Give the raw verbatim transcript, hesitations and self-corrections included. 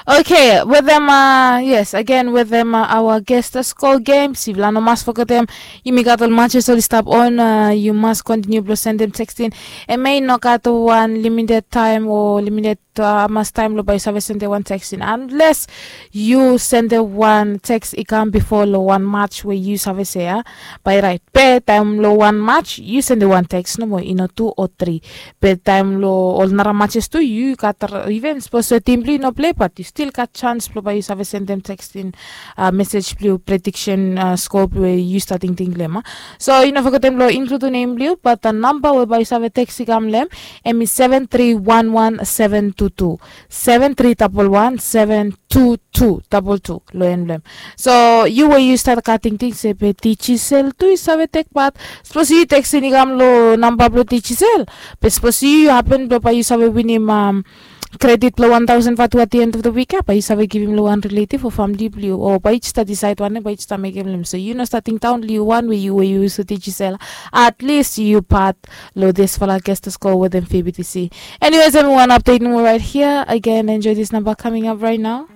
Okay, wetem, yes, again wetem aoa gesta skol gem, sifala no mas fogetem, yumi gat ol matches oli stap on. Yu mas kontiniu blong sendem tekstin. Em i no gat wan limited taem o limited hamas taem long bae yu save sendem wan tekstin, anles yu sendem wan teks i kam bifo long wan match we yu save se ya, bae raet. Be taem long wan match yu sendem wan teks nomo, i no tu o tri. Be taem long ol nara matches tu yu gat, iven sapos we tim blong yu no plei bat yu stil gat sans blong bae yu save sendem tekstin mesej blong yu, prediksen skop we yu stap tingting long em. So yu no fogetem long inkludim nem blong yu, bat namba we bae yu save teks i kam long em, em i seven tri wan wan seven tu tu, seven tri dabol wan seven tu tu dabol tu long en blong em. So yu we yu stap gat tingting se be Digicel tu i save tek pat, sapos yu tekstin i kam long namba blong Digicel, be sapos yu hapen blong bae yu save winim kredit blong wan taosen vatu at the end of the week ya, bae yu save givim long wan riletiv o famili blong yu, o bae yu stap disaed wanem bae yu stap mekem long em. So yu no stap tingdaon long yu wan we yu we yu yus Digicel, at least yu pat long disfala gesta skol wetem P B T C. Anyways, em i wan update nomo right here. Again, enjoy this number coming up right now.